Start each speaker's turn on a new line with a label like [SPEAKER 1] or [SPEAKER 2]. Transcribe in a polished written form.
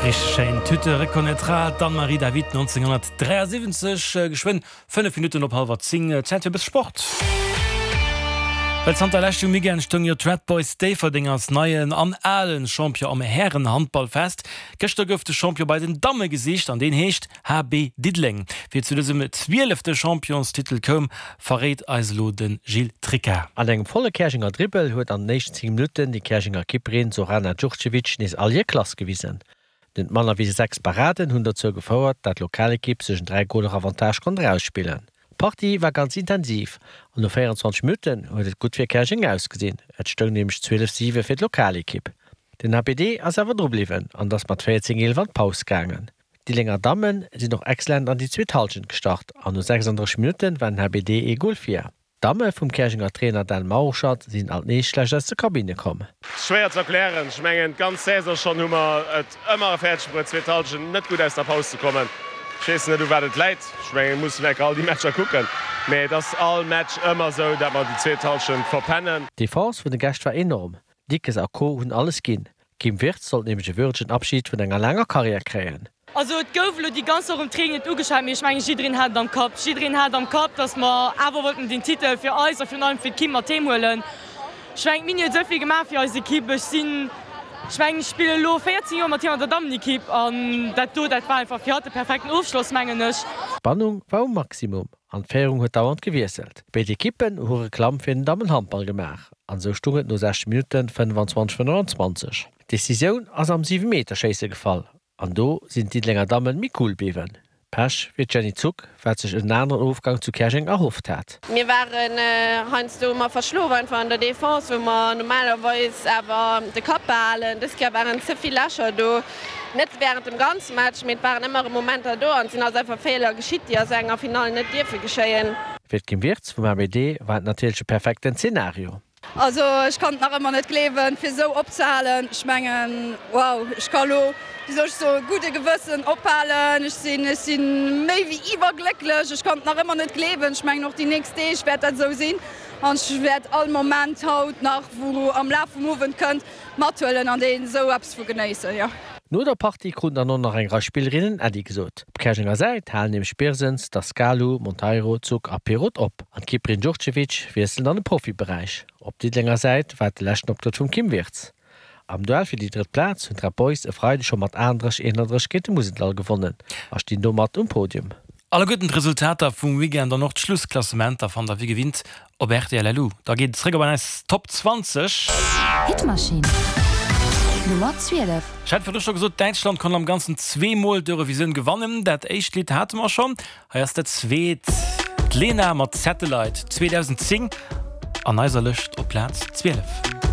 [SPEAKER 1] Richteg schéin, Tu te reconnaîtras, d'Anne-Marie David 1973. Geschwënn 5 Minutten op hallwer 10, Zäit fir e bësse Sport. Well zanter leschtem Weekend stoung jo d'Red Boys Déifferdeng als neien an alen Champion am Härenhandball fest. Gëschter gouf de Champion bei den Damme gesicht an deen heescht HB Diddeleng. Wéi et zu dësem zwielefte Championstitel koum, verréit eis elo de Gilles Tricca.
[SPEAKER 2] An engem volle Käerjenger Dribbel huet an den éischten 10 Minutten déi Käerjenger Kipperin Zorana Djurdjevic nees all hir Klass gewisen. Net manner wéi 6 Paraden hunn dozou gefouert, dat d'Lokalekipp sech en 3 Goler Avantage konnt erausspillen. D'Partie war ganz intensiv an no 24 Minutten huet et gutt fir Käerjeng ausgesinn, et stoung nämlech 12, 7 fir d'Lokalekipp. Den HBD ass awer dru bliwwen an ass mat 14, 11 an d'Paus gaangen. D'Diddelénger Damme sinn och excellent an déi zweet Hallschent gestart an no 36 Minutte war den HBD ee Gol vir. D'Damme vum Käerjenger Trainer Dan Mauruschatt sinn alt nees schlecht aus der Kabinne komm.
[SPEAKER 3] Schwéier ze erklären. Ech mengen d'ganz Saison schonn hu mer et ëmmer fäerdeg bruet zweet Hallschent net gutt aus der Paus ze kommen. Ech weess net u wat et läit. Ech mengen et muss een enker all déi Matcher kucken, mee et ass all Match ëmmer esou, dat mer déi zweet Hallschent verpennen.
[SPEAKER 2] D'Defense vun de Gäscht war enorm, Dickes a Co hunn alles ginn. D'Kim Wirtz sollt nämlech e würdegen Abschid vun enger laanger Karriär kréien.
[SPEAKER 4] Also et gouf elo déi ganz Woch um Training net ugeschwat, mee ech mengen jiddereen hat et am Kapp. Jiddereen hat am Kapp, datt mer awer wollten den Titel fir eis a virun allem fir d'Kim mat heem huelen. Ech mengen d'Mini huet esou vill gemaach fir eis Ekipp. Ech sinn, ech mengen ech spillen elo 14 Joer mat hir an der Dammenekipp an dat do, dat war einfach fir hatt de perfekten Ofschloss mengen ech.
[SPEAKER 2] D'Spannung war um Maximum an d'Féierung huet dauernd gewiesselt. Béid Ekippen hu Reklamm fir den Dammenhandball gemaach an esou stung et no 60 Minutten 25, 25. D'Decisioun ass am Siwemeterschéisse gefall an do sinn d'Diddelenger Dammen méi cool bliwwen. Pech fir d'Jenny Zuck, wat sech en aneren Ofgang zu Käerjeng erhofft hat.
[SPEAKER 5] Mir waren heiansdo ëmmer verschlof einfach an der Defense, wou mer normalerweis awer de Kapp behalen. Dës Kéier waren ze vill Lächer do, net wärend dem ganze Match, mee et waren ëmmer erëm Momenter do an et sinn eis einfach Feeler geschitt, déi a sou enger Finall net dierfe geschéien.
[SPEAKER 2] Fir d'Kim Wirtz vum HBD war et natierlech e perfekten Zenario.
[SPEAKER 6] Also ech kann et nach ëmmer net gleewen, fir esou opzehalen. Ech mengen, wow, ech ka lo, wéi soll ech soen, gudde Gewëssen ophalen. Ech sinn, ech si méi wéi iwwerglécklech. Ech kann et nach ëmmer net gleewen. Ech mengen och déi nächst Deeg wäert dat esou sinn an ech wäert all Moment haut nach, wou am Laf vum Owend kënnt, mathuelen an deen esou eppes vu genéissen, jo.
[SPEAKER 2] No der Partie kruten dann och nach eng Rei Spillerinnen Äddi gesot. Op Käerjenger Säit halen nämlech Birsens, Dascalu, Monteiro, Zuck a Pirot op an d'Kipperin Djurdjevic wiesselt an de Profiberäich. Op Diddelenger Säit war et de leschten Optrëtt vum Kim Wirtz. Am Duell fir déi drëtt Plaz hunn d'Red Boys e Freideg scho mat 38, 31 géint de Museldall gewonnen a stinn domat um Podium.
[SPEAKER 1] Alleguerten d'Resultater vum Weekend an och d'Schlussklassementer fannt der wéi gewinnt op rtl. Da geet et zréck op eis Top 20.
[SPEAKER 7] Hitmaschinn Nummer 12.
[SPEAKER 1] Ech hat virdru scho gesot, Däitschland konnt am Ganzen zweemol d'Eurovisioun gewannen. Dat éischt Lidd hate mer schonn. Hei ass dat zweet, d'Lena mat Satellite 2010 an eiser Lëscht op Plaz 12.